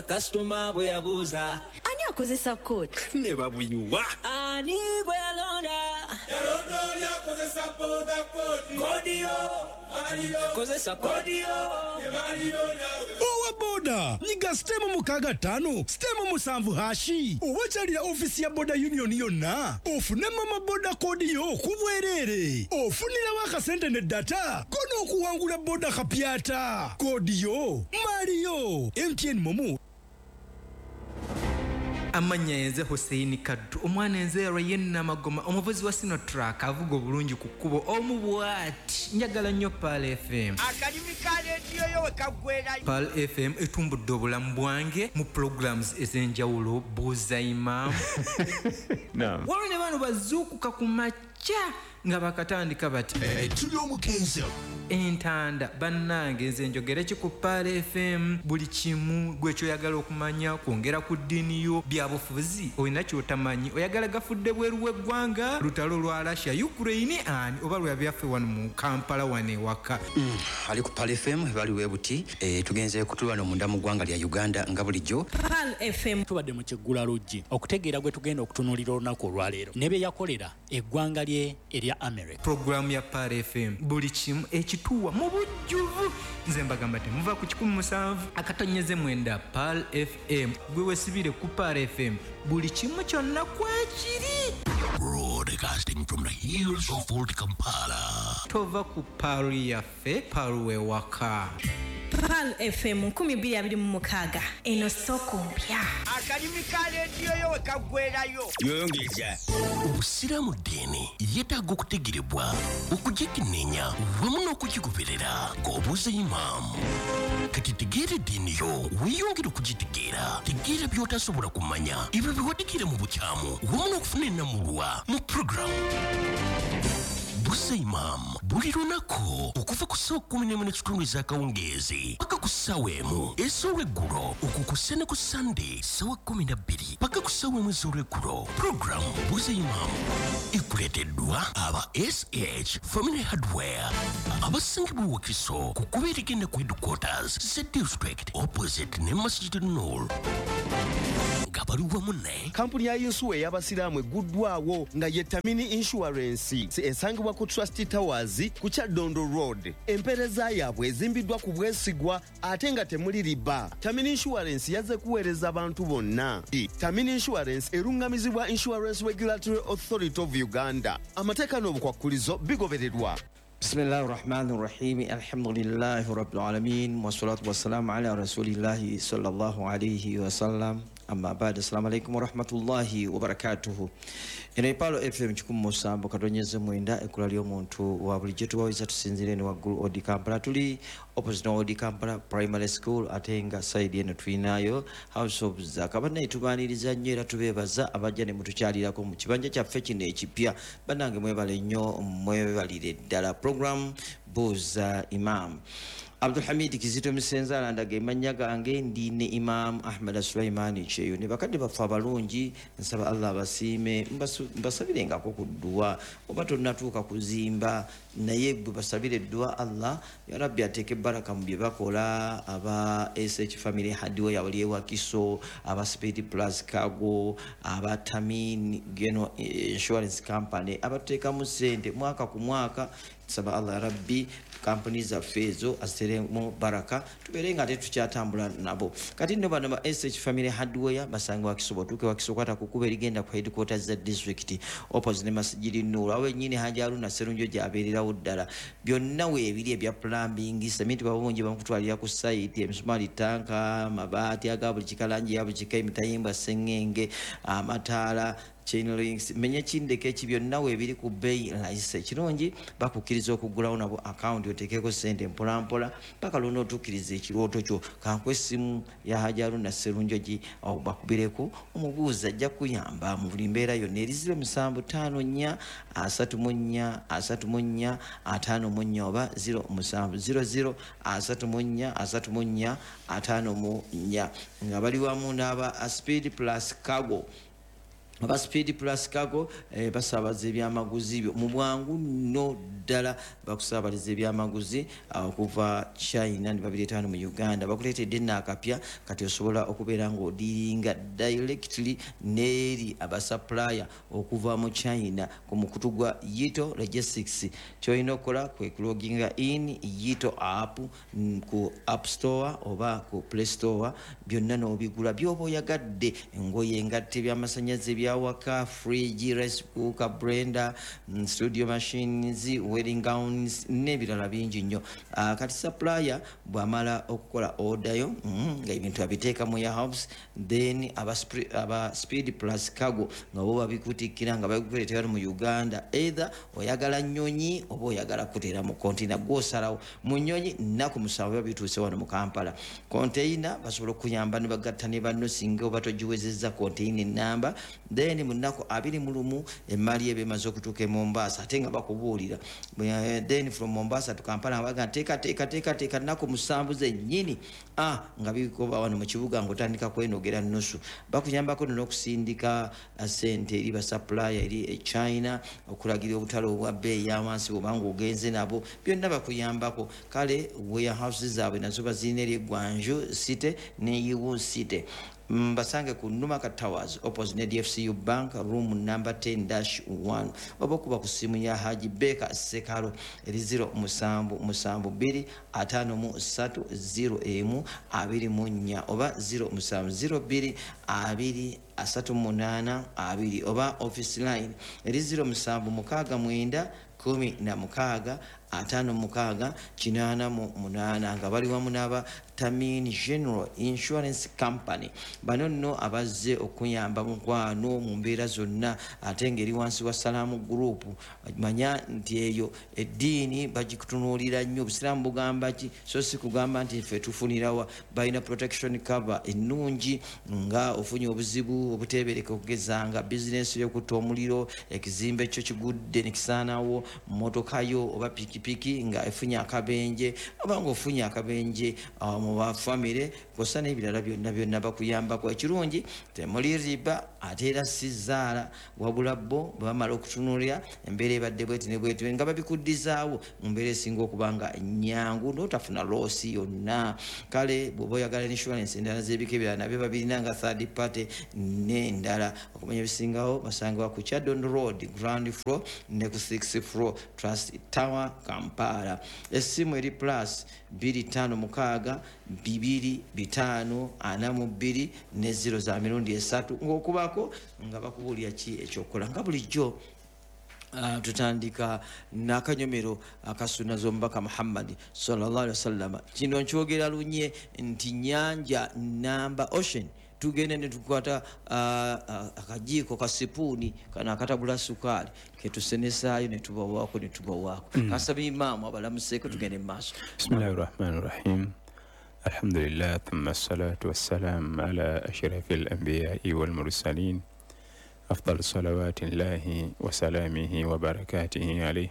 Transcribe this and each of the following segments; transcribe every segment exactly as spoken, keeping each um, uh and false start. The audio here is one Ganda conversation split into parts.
Kasitoma bwe yabuuza ani akozesa code ne babuyuwa ani bwe yalonda yalonda oli akozesa boda code code yo kozesa code yo owa boda nyiga star mukaaga ttaano star musanvu hash oba kyalira ofiisi ya boda union yonna ofune mama boda code yo ku bwereere ofunirawo akasente ne data kono okuwangula boda kapyata code yo Mario M T N MoMo. Amannya yenze Hussein Kaddu, omwana enzeerwa yennamagoma, omuvuzi wa Sinotruck avuga obulungi ku kkubo omu bw'ati. Njagala nnyo Pearl F M. Akalimi ka leediyo yo we kaggwerayo. Pearl F M etumbudde obulamu bwange mu programs ez'enjawulo. Buuza Imaamu. Waliwo ne bano bazuukuka ku makya nga bakatandika bati tuli omukenzo entanda. Bannange, nze njogere ki ku Pearl F M? Buli kimu gwe kyoyagala okumanya kwongera ku ddiini yo, byabufuzi, olina kyotamanyi, oyagala gafudde bweru w'eggwanga, lutalo lwa Russia Ukraine ani oba lwa byaffe wano mu Kampala wano ewaka. Ali ku Pearl F M bali webuti e, tugenze kutulwana munda mu ggwanga lya Uganda nga bulijjo. Pearl F M. Tubadde mu kiggula luggi okutegeera gwe tugenda okutunuulira olunaku olwaleero ne bye yakolera eggwanga lye erya America. Puroguramu ya Pearl F M buli kimu ekituwa mu bujjuvu. Nze mbagamba temuva ku kikumi musanvu akatonyeze mwenda. Pearl F M, gwe wesibire ku Pearl F M, buli kimu kyonna kwekiri. Broadcasting from the hills of Old Kampala. Tova ku Pearl yaffe, Pearl wewaka. Pearl F M nkumi bbiri abiri mu mukaaga, eno soko mpya. Akalimi ka leediyo yo we kaggwerayo. Yongeza obusiraamu ddiini yeetaaga okutegerebwa, okugikenneenya wamu n'okugigoberera ng'obuuza imaamu. Kati tegeera eddiini yo, weeyongere okugitegeera. Tegeera by'otasobola kumanya, ebyo bye mu bukyamu, wamu n'okufuna ennamulwa mu puroguramu Buuza Imaamu buli lunaku okuva ku ssaawa kumi n'emu n'ekitundu ez'akawungeezi paka ku ssaawa emu ez'olweggulo, okukussa ne ku Sande ssaawa kumi na bbiri paka ku ssaawa emu ez'olweggulo. Puroguramu Buuza Imaamu ekuleeteddwa aba S H Family Hardware abasangibwa Wakiso ku kkubo erigenda ku headquarters za district, opposite ne Masjid Nur, nga bali wamu ne Kampuni ya yinsuwa ey'abasiraamu egguddwawo nga ye Tamini Insurance, esangibwa ku Trust Towers ku Kyaddondo Road. Empeereza yaabwe ezimbiddwa ku bwesigwa ate nga temuli riba. Tamini Insurance yazze kuweereza abantu bonna. Tamini Insurance eruŋŋamizibwa Insurance Regulatory Authority of Uganda. Amateeka n'obukwakkulizo bigobererwa. بسم الله الرحمن الرحيم، الحمد لله رب العالمين، والصلاة والسلام على رسول الله صلى الله عليه وسلم، أما بعد، السلام عليكم ورحمة الله وبركاته. Eno Pearl F M kikumi musanvu katonyeze mwenda, ekkula ly'omuntu wa bulijjo. Tubawiza tusinzire eno waggulu Old Kampala, tuli opposite Old Kampala Primary School, ate nga side eno tulinayo House of Zaka. Bannaye, tubaaniriza nnyo era tubeebaza abajja ne mutukyalirako mu kibanja kyaffe kino ekipya. Bannange, mwebale nnyo, mwebalire ddala. Program Buuza Imam, Abdulhamid Kizito Misenzala ndaga emannya gange. Ndi ne Imam Ahmad Sulaimani Kyeyo ne bakadde baffe abalungi. Nsaba Allah abasiime, mbasabirengako ku dduwa. Oba tonnatuuka kuzimba, naye bwe basabire edduwa, Allah ya Rabbi ateeke baraka mu bye bakola. Aba S H Family Hardware wali ewakiso, aba Speed Plus Cargo, aba Tamin Geno Insurance Company abatuteekamu ssente mwaka ku mwaka, nsaba Allah ya Rabbi kampuni zaffe ezo aziteremu baraka, tubeere nga tetukyatambula nabo. Kati nno bano ba S H Family Hardware basanga Wakiso. Otuuke Wakiso, kwata ku kkubo erigenda ku headquarters za district, opposite ne Masjidi Nur, awo ennyini Haji Haruna Serunjo gy'abeererawo ddala. Byonna weebiri ebya plumbing, sementi babungi bamukutwalira ku site, emisumaali, tanka, amabaati aga buli kika, langi ya buli kika, emitayimbwa, sengenge, amataala, chain links, menye kindeke eki, byonna weebiri ku bbeeyi layisi. Ekirungi, bakukkiriza okuggulawo nabo akawunti oteekeko ssente mpolampola paka lwona otuukiriza ekirooto kyo. Kanku essimu ya Haji Haruna Serunjogi bakubireko omubuuza, ajja kuyamba mu buli mbeera yonna. Eri zero musanvu ttaano nnya asatu mu nnya asatu mu nnya ataano mu nnya oba zero musanvu zero zero asatu mu nnya asatu mu nnya ataano mu nnya, nga bali wamu n'aba Speed Plus Cargo. Aba Speed Plus Cargo eh, basabaza ebyamaguzi byo mu bwangu nno ddala, bakusabaliza ebyamaguzi okuva China ne babireeta wano mu Uganda. Bakuleetedde nno akapya, kati osobola okubeera ng'odiringa directly n'eri abasupplier okuva mu China ku mukutu gwa Yito Logistics. Ky'olina okukola kwe kuloginga in Yito app ku App Store oba ku Play Store, byonna n'obigula by'oba oyagadde, engoye, engatto, ebyamasannyalaze, ebyawaka, fridge, rice cooker, blender, studio machines, wedding gowns n'ebirala bingi nnyo. Uh, kati supplier bw'amala okukola order yo mm, nga ebintu abiteeka mu warehouse, then aba, aba Speed Plus Cargo nga bo babikutikkira nga babikuleetera mu Uganda. Either oyagala nnyonyi oba oyagala kuteera mu container, gw'osalawo. Mu nnyonyi nnaku musanvu bituuse wano mu Kampala. Container basobola okuyamba ne bagatta ne banno singa oba togiwezezza container ennamba. Then mu nnaku abiri mu lumu emmali eba emaze okutuuka e Mombasa, ate nga bakubuulira. Then from Mombasa to Kampala baga teeka teeka teeka teeka nnaku musanvu zennyini ah, nga bikoba wano mu kibuga ng'otandika kwenogera nnusu. Bakuyambako n'okusindika ssente eri basupplier eri e China, okulagira obutale obwa bbeeyi ya wansi bw'oba ng'ogenze nabo, byonna bakuyambako. Kale warehouses zaabwe nazo bazirina eri e Guangzhou City ne Yiwu City. Mbasange ku Numaka Towers opposite ne D F C U Bank, room number ten dash one, oba okuba ku ssimu ya Haji Beka Sekalo eri zero musanvu musanvu bbiri ataano mu ssatu zero emu abiri mu nnya oba zero musanvu zero bbiri abiri asatu munaana abiri, oba office line eri zero musanvu mukaaga mwenda kumi na mukaaga ataano mukaaga kinaana mu munaana, nga bali wamu n'aba Tamin General Insurance Company. Bano nno abazze okuyamba mukwano mu mbeera zonna, ate ng'eri wansi wa Salaamu Group. Manya nti eyo eddiini bagikutunuulira nnyo. Obusiraamu bugamba ki? So si kugamba nti ffe tufunirawa. Balina protection cover ennungi nga ofunye obuzibu obuteebereka, okugeza nga bizinensi y'okutta omuliro, ekizimbe kyo kigudde ne kisaanawo, mmotoka yo oba pikipiki nga efunye akabenje, oba ng'ofunye akabenje mu bafamire, kw'ossa n'ebirala byonna byonna bakuyambako. Ekirungi temuli riba, ate era si zaala, wabula bo bwe bamala okutunuulira embeera ebadde bweti ne bweti nga babikuddizaawo mu mbeera esinga okuba nga nnyangu n'otafuna loosi yonna. Kale bw'oba oyagala insurance endala z'ebika ebirala nabyo babirina nga third party n'endala. Okumanya ebisingawo basangibwa ku Chadon Road ground floor ne ku sixth floor Trust Tower Kampala. Essimu eri plus bbiri ttaano mukaaga bibiri bitaano ana mu bbiri ne zero za mirundi esatu, ng'okubako nga bakubuulira ki ekyokukola. Nga bulijjo Uh, tutandika n'akanyomero akasuna z'omubaka Muhammad sallallahu alaihi wasallam. Kino nkyogera lunye nti nnyanja namba ocean, tugende ne tukwata uh, uh, akajiiko ka sipuuni kano akatabula sukaali ketusenesaayo ne tubawaako ne tubawaako. Mm. Kasaba imaamu abalamuseeko, tugende mu maaso. Bismillahi rahmani rahim. Alhamdulillah, thumma assalatu wassalam ala ashrafil anbiyai wal mursalin afdal salawati llahi wa salamihi wa barakatihi alayhi,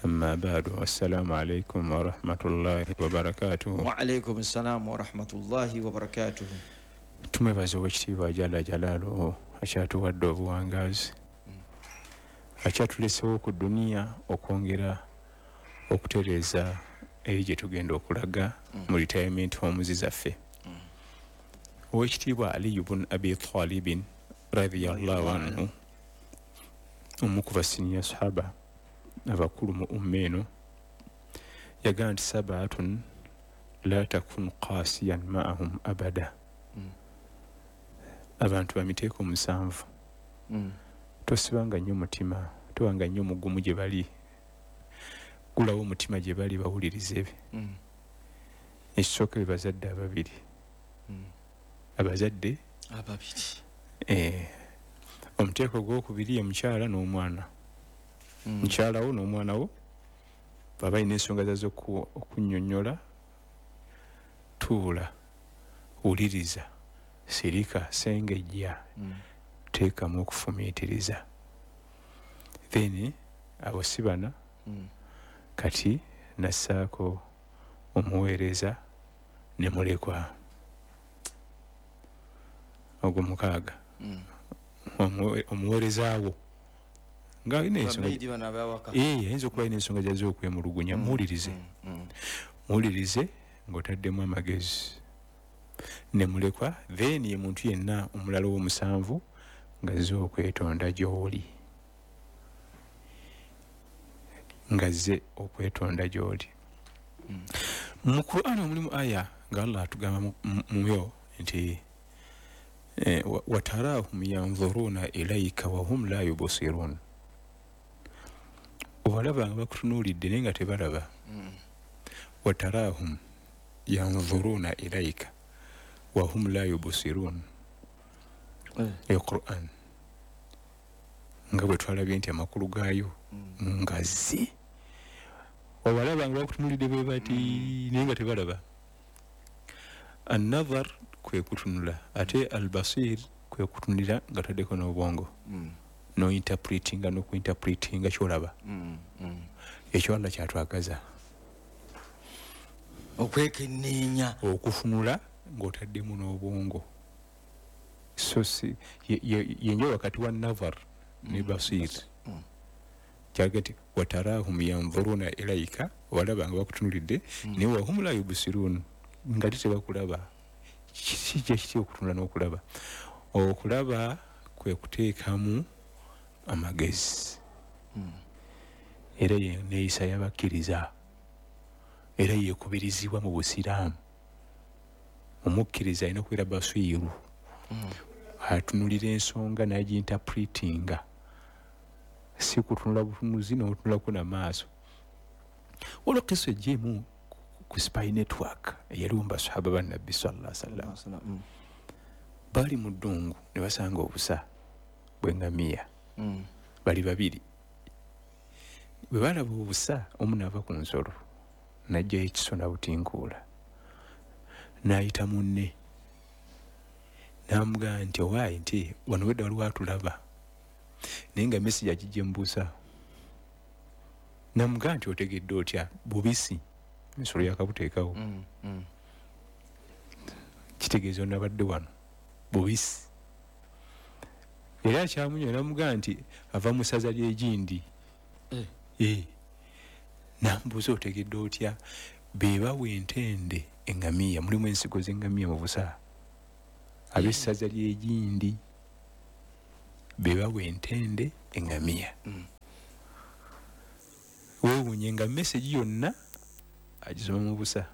amma ba'du. Assalamu alaykum wa rahmatullahi wa barakatuhu. Wa alaykum assalam wa rahmatullahi wa barakatuhu. Tumwebaza owekitiibwa Jalla Jalaaluhu akyatuwadde obuwangaazi, akyatulesewo ku duniya okwongera okutereeza eri gye tugenda okulaga mu retirement homes zaffe. Owekitiibwa Ali ibn Abi Talibin radiyallahu anhu, omu ku basiniya sahaba abakulu mu umma eno, yagamba nti sabaatun la takun qasiyan ma'ahum abada. Abantu bamiteeko musanvu, tosibanga nnyo mutima, tobanga nnyo mugumu gye bali, gulawo omutima gye bali bawulirize be. Ekisooka be bazadde ababiri, abazadde ababiri. Eh, omuteeko ogwokubiri ye mukyala n'omwana. Mukyala wo n'omwana wo baba balina ensonga zazo okunnyonnyola, tuula, wuliriza, sirika, sengejja, teekamu okufumiitiriza. Then abo si bana, kati nassaako omuweereza ne mulekwa ogwo mukaaga. Omuweerezaawo nga alina ensonga, ayinza okuba alina ensonga gy'azze okwemulugunya, muwulirize. Muwulirize ng'otaddemu amagezi ne mulekwa. Then ye muntu yenna omulala ow'omusanvu ng'azze okwetonda gy'oli, ng'azze okwetonda gy'oli. Mu Qur'an mulimu aya nga Allah atugamba muyo nti watarahum yanzuruna ilayka wa hum la yubsirun, obalaba nga bakutunuulidde naye nga tebalaba. Watarahum yanzuruna ilayka wa hum la yubsirun, eyo Qur'an nga bwe twalabye nti amakulu gaayo ngazi. Obalaba nga bakutunuulidde bwe bati naye nga tebalaba. An-nazar kwe kutunula, ate al-basir kwe kutunulira nga taddeko n'obwongo, no interpretinga n'okuinterpretinga ky'olaba. Ekyo Allah kyatwagaza, okwekenneenya, okufunula ng'otaddemu n'obwongo. So si yenjawulo wakati wa nazar ne basir. Kyaga nti watarahum yanzuruna ilayka, obalaba nga bakutunulidde naye wahum la yubsirun, nga tebakulaba. Kijja kiti okutunula n'okulaba? Okulaba kwe kuteekamu amagezi, era neeyisa y'abakkiriza, era yeekubirizibwa mu busiraamu. Omukkiriza alina okubeera basiiru, atunulira ensonga n'agiinterpretinga, si kutunula butunuzi n'otunulako n'amaaso. Olwo kiso ejjeemu ku spy network eyaliwo mu basahaba ba Nabbi sallallahu alaihi wasallam. Bali mu ddungu ne basanga obusa bw'engamiya, bali babiri. Bwe balaba obusa, omu n'ava ku nsolo n'aggyayo ekiso n'abutinkuula, n'ayita munne n'amugamba nti owaayi nti wano wedda waliwo atulaba, naye nga mesigi agijja mu busa. N'amugamba nti otegedde otya? Bubisi, ensolo yakabuteekawo, kitegeeza onabadde wano bubisi. Era akyamunywa n'amugamba nti ava mu ssaza ly'egindi. N'amubuuza otegedde otya? Be bawa entende engamiya, mulimu ensigo z'engamiya mu busa. Ab'essaza ly'egindi be bawa entende engamiya. Weewuunye nga mesegi yonna agisoma mu busa.